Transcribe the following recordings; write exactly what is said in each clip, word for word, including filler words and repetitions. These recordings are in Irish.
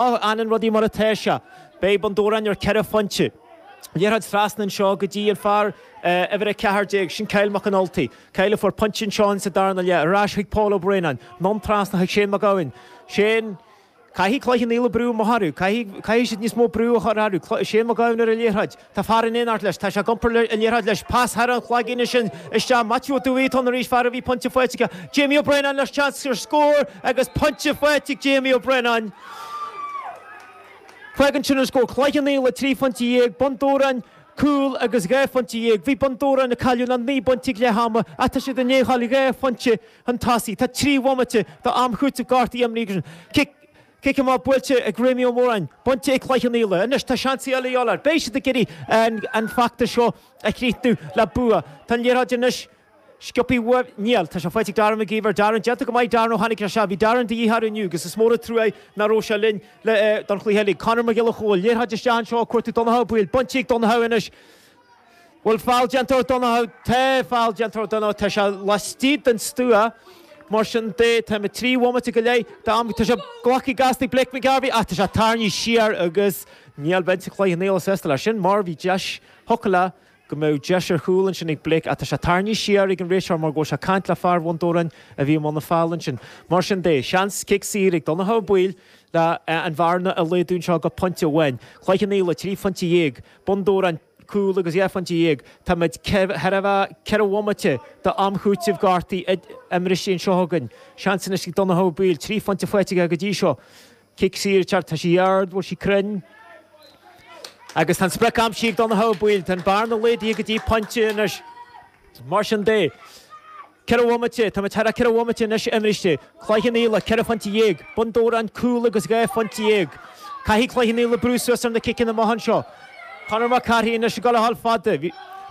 Fhanann rudaí mar atá sé. Beidh Bun Dobhráin ar ceithre phointe. Liathróid trasna anseo go dtí an fear uimhir a ceathair déag, sin Kyle McAnulty. Kyle a fuair pointe anseo sa darna leath. Ar ais chuig Paul Ó Braonáin. Anonn trasna chuig Shane Mac Gabhann. Shane. Caithfidh Cloich Cheann Fhaola brú amach orthu. Caithfidh, caithfidh siad níos mó brú a chur orthu. Shane Mac Gabhann ar an liathróid. Tá fear in éineacht leis. Tá sé ag iompar an liathróid leis. Pas thar an chlaigín ansin isteach. Maitiú Ó Dubhthaigh atá ann arís, fear a bhí pointe faighte aige. Jamie Ó Braonáin leis seans ar scór agus pointe faighte ag Jamie Ó Braonáin. Fágann sin an scór, Cloich Cheann Fhaola trí phointe dhéag, Bun Dobhráin cúl agus dhá phointe dhéag. Bhí Bun Dobhráin ag cailleadh le naoi bpointe ag leath ama ach tá siad i ndiaidh a dhul dhá phointe chun tosaigh. Tá trí bhomaite d'am chúitimh gortaithe imrithe. Cic cic amach buailte ag Réamaí Ó Móráin, bainte ag Cloich Cheann Fhaola. Anois tá seans eile a dhíobháil air. Beidh siad ag iarraidh an feachtas seo a chríochnú le bua. Tá an liathróid anois sciobtha uaidh. Níl. Tá sé faighte ag Darren McGeever. Darren, déanta go maith Darren ó tháinig sé isteach. Bhí Darren de dhíth orainn inniu agus is mór an trua é nach raibh sé linn le don chluiche eile. Conor Mac Giolla Chóill, liathróid isteach anseo ag cuartú Donncha Ó Baoill. Bainte ag Donncha anois. Bhfuil feall déanta ar Donncha? Tá feall déanta ar Donncha. Tá sé laistigh den stua. Mar sin de, táimid trí bhomaite go leith d'am. Tá sé glactha gasta ag Blake McGarvey ach tá sé tarraingthe siar agus níl binse Chloich Cheann Fhaola sásta leis sin mar bhí deis thiocfadh le go mbeadh deis ar chúl ansin ag Blake ach tá sé tarraingthe siar ag an réiteoir mar go bhfuil sé ag caint le fear Bhun Dobhráin a bhí i mbun na feall ansin. Mar sin de, seans cic saor ag Donncha Ó Baoill le an bhearna a laghdú anseo go pointe amháin. Cloich Cheann Fhaola trí phointe dhéag, Bun Dobhráin cúl agus dhá phointe dhéag. Táimid thar a bheith ceithre bhomaite d'am chúitimh gortaithe imeartha anseo againn. Seans anois ag Donncha Ó Baoill, trí phointe faighte aige go dtí seo. Cic saor ag teacht, tá sí ard, bhfuil sí cruinn? Agus tá an sprioc aimsithe ag Donncha Ó Baoill, tá an bearna laghdaithe go dtí pointe anois. Mar sin de, ceithre bhomaite, táimid thar a ceithre bhomaite anois imeartha. Cloich Cheann Fhaola, ceithre phointe dhéag, Bun Dobhráin cúl agus dhá phointe dhéag. Caithfidh Cloich Cheann Fhaola brú suas ar na ciceanna amach anseo. Conor Mac Cárthaigh anois ag dul a dhul fada.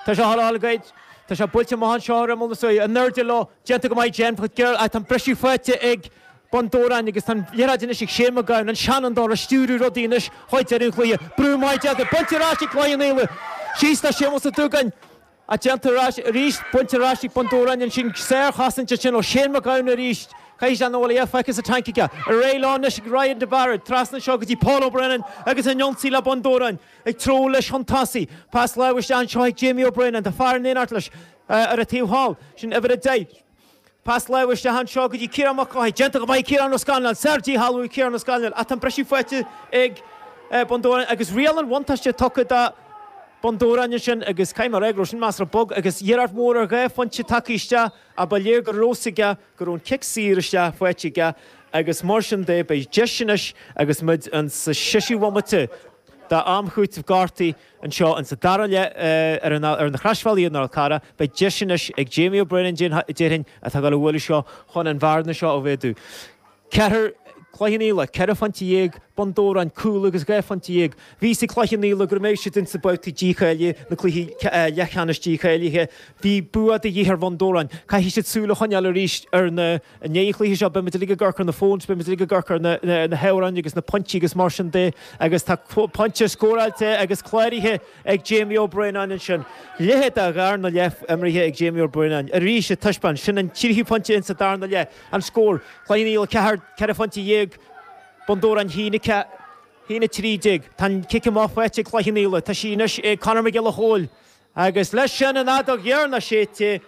Tá sé a dhul a dhul goid. Tá sé buailte amach anseo ar imeall na suaithe. In airde leo, déanta go maith Jen Fitzgerald ach tá an briseadh faighte ag Bun Dobhráin agus tá an liathróid anois ag Shane McGowan, an seanfhondúir, ag stiúradh rudaí anois chuig deireadh an chluiche. Brú maith déanta, bainte ar ais ag Cloich Cheann Fhaola. Síos le Séamus Ó Dúgáin. Ach déanta ar ais arís, bainte ar ais ag Bun Dobhráin ansin, sárchosaint ansin ó Shane McGowan arís. Caithfidh sé an bhfuil a dhath feicthe sa tanc aige. Ar aghaidh leo anois ag Ryan de Barra, trasna anseo go dtí Paul O'Brennan agus an ionsaí le Bun Dobhráin ag treabhadh leis chun tosaigh. Pas láimhe isteach anseo ag Jamie O'Brennan, tá fear in éineacht leis ar an taobh thall, sin uimhir a deich. Pas láimhe isteach anseo go dtí Ciarán Mac Cárthaigh. Déanta go maith Ciarán Ó Scanláin. Sár-dhícheall uaidh Ciarán Ó Scanláin ach tá an briseadh faighte ag Bun Dobhráin agus riail an bhuntáiste tugtha do Bun Dobhráin ansin agus caithfidh mé a rá go raibh sin measartha bog agus iarracht mhór ar dhá phointe tagtha isteach ach ba léir go raibh fhios aige go raibh an cic saor isteach faighte aige agus mar sin de beidh deis anois agus muid in sa seisiú bhomaite d'am chúitimh gortaithe anseo in sa dara leath ar an ar na Croisbhealaí i nDál Carra beidh deis anois ag Jamie O'Brien déarfainn atá ag dul a bhualadh seo chun an bhearna seo a mhéadú. Ceathair Cloich Cheann Fhaola, ceithre phointe dhéag, Bun Dobhráin, cúl agus dhá phointe dhéag. Bhí fhios ag Cloich Cheann Fhaola go mbeidh siad insa babhtaí dícháilithe, na cluichí leathcheannais dícháilithe. Bhí bua de dhíth ar Bhun Dobhráin. Caithfidh siad súil a choinneáil arís ar na i ndiaidh an chluiche seo. Beidh muid uilig ag amharc ar na phones, beidh muid uilig ag amharc ar na na hamhráin agus na pointí agus mar sin de. Agus tá pointe scóráilte agus cláraithe ag Jamie Ó Braonáin ansin. Leithéid de dharna leath imeartha ag Jamie Ó Braonáin. Arís ag taispeáint, sin an tríú pointe insa darna leath. An scór, Cloich Cheann Fhaola ceathair, ceithre phointe dhéag, Bun Dobhráin haon a ceathair, haon a trí déag. Tá an cic amach faighte ag Cloich Cheann Fhaola. Tá sí anois ag Conor Mac Giolla Chóill. Agus leis sin an fheadóg dheireanach séidte,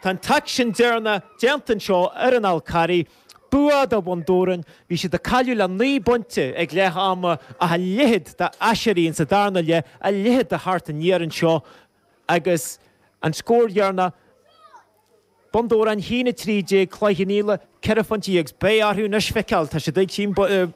tá an t-aicsean deireanach déanta anseo ar an Fhál Carraigh. Bua do Bhun Dobhráin. Bhí siad ag cailleadh le naoi bpointe ag leath ama ach a leithéid d'aiséirí insa darna leath, a leithéid de theacht aniar anseo agus an scór dheireanach, Bun Dobhráin haon a trí déag, Cloich Cheann Fhaola ceithre phointe dhéag. Beidh orthu anois feiceáil, tá siad ag tím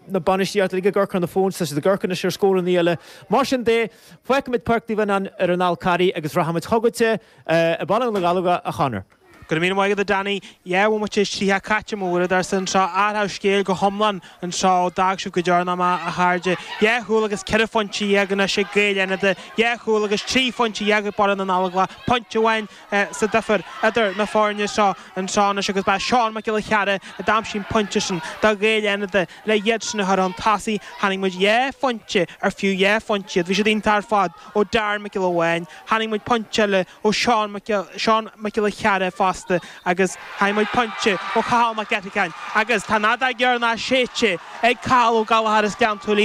na bainistíochta uilig ag amharc ar na phones, tá siad ag amharc anois ar scóranna eile. Mar sin de, fágfaimid Páirc Naomh Fhionnán ar an Fhál Carraigh agus rachaimid chugatsa i Baile na Gallógach, a Chonor. Go raibh míle maith agat a Danny. Dhá bhomaite is tríocha caite mo uaireadóirsa anseo. Athrú scéil go hiomlán anseo ó d'fhág sibh go deireanach mé, a chairde. Dhá chúl agus ceithre phointe dhéag anois ag Gaeil Fhánada. Dhá chúl agus trí phointe dhéag ag Baile na nGallóglach. Pointe amháin sa difear idir na foirne seo anseo anois agus ba é Seán Mac Giolla Chearra a d'aimsigh an pointe sin do Ghaeil Fhánada le iad sin a chur chun tosaigh. Chonaic muid dhá phointe ar fiú dhá phointe iad. Bhí siad iontach ar fad ó Darren Mac Giolla Bháin. Chonaic muid pointe eile ó Seán Mac Seán Mac Giolla Chearra fá fosta agus tá muid pointe ó Chathal Mac Eatacáin agus tá nada gearná séite ag Cathal Ó Gallchóir as Gleann tSúilí.